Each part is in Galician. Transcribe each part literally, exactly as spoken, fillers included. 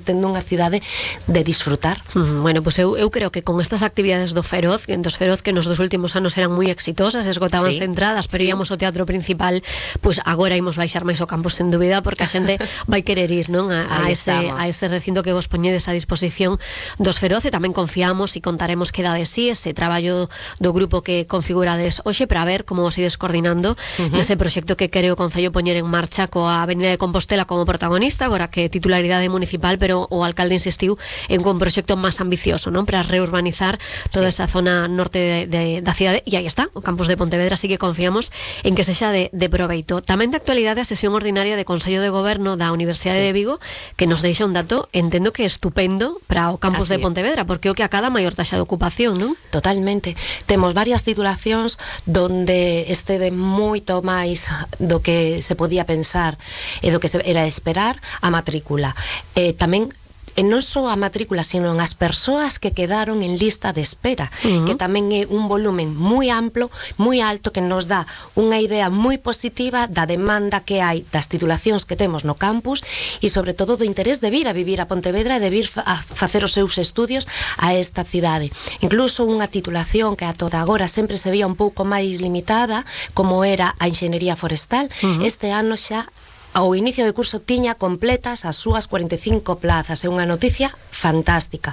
tendo unha cidade de disfrutar. Mm, bueno, pues eu, eu creo que con estas actividades do Feroz, que dos Feroz que nos dos últimos anos eran moi exitosas, esgotábanse Sí, entradas, pero sí. íamos ao teatro principal, pues agora imos baixar máis o campus sen dúbida, porque a xente vai querer ir, non? A, a, Aí ese, estamos. a ese recinto que vos poñedes a disposición dos Feroz, e tamén confiamos e contaremos que dade sí ese traballo do grupo que configurades hoxe para ver como vos ides coordinando uh-huh. nese proxecto que quere o Concello poñer en marcha coa Avenida de Compostela como protagonista, agora que titularidade municipal, pero o alcalde insistiu en un proxecto máis ambicioso, non? Para reurbanizar toda sí. esa zona norte de, de, da cidade, e aí está, o campus de Pontevedra, así que confiamos en que sexa de, de proveito. Tamén de actualidade a sesión ordinaria de Consello de Goberno da Universidade sí. de Vigo, que nos deixa un dato, entendo que estupendo para o campus así de Pontevedra, porque o que acada maior taxa de ocupación, non? Totalmente. Temos varias titulacións donde excede moito máis do que se podía pensar e do que se era esperar a matrícula. Eh, tamén e non só a matrícula, sino as persoas que quedaron en lista de espera, uh-huh. que tamén é un volumen moi amplo, moi alto, que nos dá unha idea moi positiva da demanda que hai das titulacións que temos no campus e sobre todo do interés de vir a vivir a Pontevedra e de vir a facer os seus estudios a esta cidade. Incluso unha titulación que a toda agora sempre se vía un pouco máis limitada, como era a Enxeñería Forestal, uh-huh. este ano xa ao inicio de curso tiña completas as súas cuarenta e cinco plazas. É unha noticia fantástica.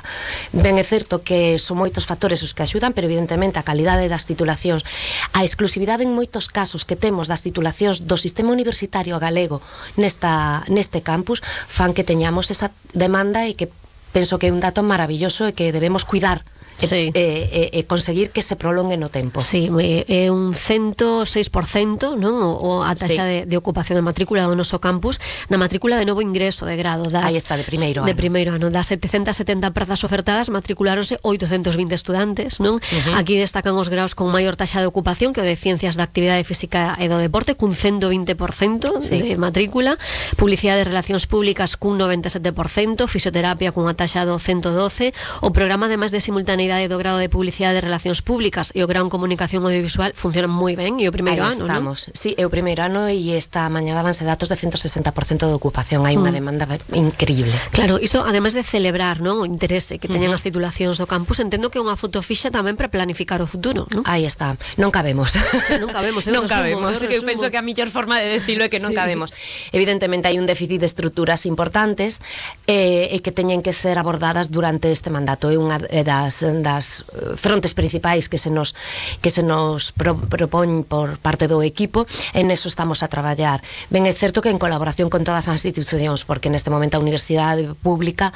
Ben é certo que son moitos factores os que axudan, pero evidentemente a calidade das titulacións, a exclusividade en moitos casos que temos das titulacións do sistema universitario galego nesta, neste campus, fan que teñamos esa demanda e que penso que é un dato maravilloso e que debemos cuidar sí. e, e, e conseguir que se prolongue no tempo. Sí, é un cento seis por cento, non? O, o a taxa sí. de, de ocupación de matrícula do noso campus, na matrícula de novo ingreso de grado. Das, aí está, de primeiro ano. De primeiro ano. Das setecentas e setenta prazas ofertadas, matriculáronse oitocentos vinte estudantes, non? Uh-huh. Aquí destacan os graos con maior taxa de ocupación, que o de Ciencias da Actividade Física e do Deporte, cun ciento vinte por cento sí. de matrícula, Publicidade e Relacións Públicas cun noventa e sete por cento, Fisioterapia cunha taxa do ciento doce, o programa ademais de simultaneidade do grado de Publicidade e Relacións Públicas e o grado en Comunicación Audiovisual funcionan moi ben, e o primeiro aí ano, estamos, non? Sí, é o primeiro ano e esta mañá dabanse datos de ciento sesenta por cento de ocupación, hai unha mm. demanda increíble. Claro, isto ademais de celebrar, non, o interese que teñen uh-huh. as titulacións do campus, entendo que é unha foto fixa tamén para planificar o futuro, non? Aí está, non cabemos. Sí, non cabemos, non resumo, cabemos, eu, eu penso que a mellor forma de decirlo é que non sí. cabemos. Evidentemente hai un déficit de estruturas importantes e, e que teñen que ser abordadas durante este mandato. É unha das, das frontes principais que se nos que se nos pro, propón por parte do equipo, en eso estamos a traballar. Ben, é certo que en colaboración con todas as institucións, porque neste momento a Universidade Pública,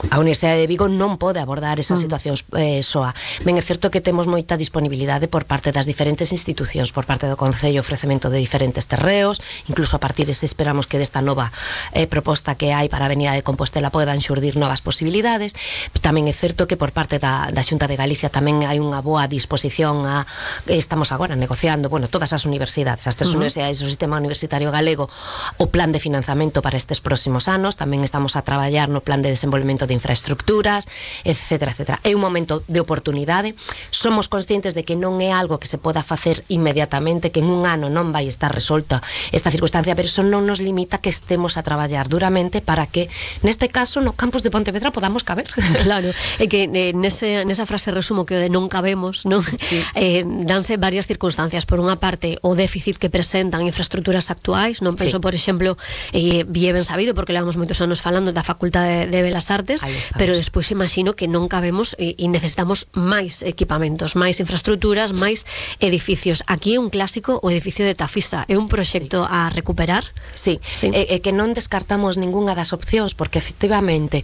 a Universidade de Vigo non pode abordar esas mm. situacións eh, soa. Ben, é certo que temos moita disponibilidade por parte das diferentes institucións, por parte do Concello, ofrecemento de diferentes terreos, incluso a partir de se esperamos que desta nova eh, proposta que hai para a Avenida de Compostela podan xurdir novas posibilidades. Tamén é certo que por parte da, da Xunta de Galicia tamén hai unha boa disposición a, estamos agora negociando, bueno, todas as universidades, as tres uh-huh. universidades do sistema universitario galego, o plan de financiamento para estes próximos anos, tamén estamos a traballar no plan de desenvolvemento de infraestructuras, etcétera, etcétera. É un momento de oportunidade, somos conscientes de que non é algo que se poda facer inmediatamente, que en un ano non vai estar resolta esta circunstancia, pero eso non nos limita que estemos a traballar duramente para que, neste caso, no campus de Pontevedra podamos caber. Claro, é que eh, nese, nesa frase resumo que o de non cabemos, non? Sí. Eh, danse varias circunstancias. Por unha parte, o déficit que presentan infraestructuras actuais, non penso, sí. por exemplo, eh, bien ben sabido, porque levamos moitos anos falando da Facultade de Belas Artes, pero despois imagino que non cabemos e, e necesitamos máis equipamentos, máis infraestructuras, máis edificios. Aquí é un clásico o edificio de Tafisa, é un proxecto sí. a recuperar? Sí, sí. E, e que non descartamos ningunha das opcións, porque efectivamente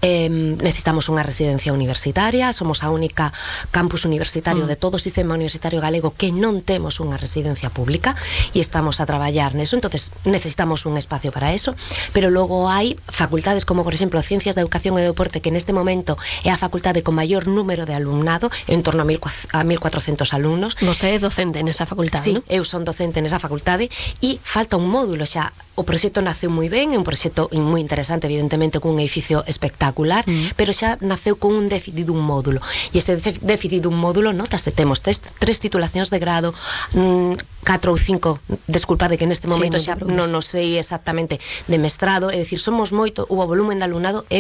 eh, necesitamos unha residencia universitaria, somos a única campus universitario mm. de todo o sistema universitario galego que non temos unha residencia pública e estamos a traballar neso, entonces necesitamos un espacio para eso, pero logo hai facultades como, por exemplo, Ciencias da Educación e Deporte, que neste momento é a facultade con maior número de alumnado, en torno a mil cuatrocentos alumnos. Vostede é docente nesa facultade, sí, non? Eu son docente nesa facultade e falta un módulo xa. O proxecto naceu moi ben, é un proxecto moi interesante, evidentemente, cun edificio espectacular, mm. pero xa naceu con un déficit dun módulo. E ese déficit dun módulo, notase, temos tres, tres titulacións de grado, mmm, catro ou cinco, desculpade que neste momento sí, xa non nos sei exactamente, de mestrado, é dicir, somos moito, o volumen de alumnado é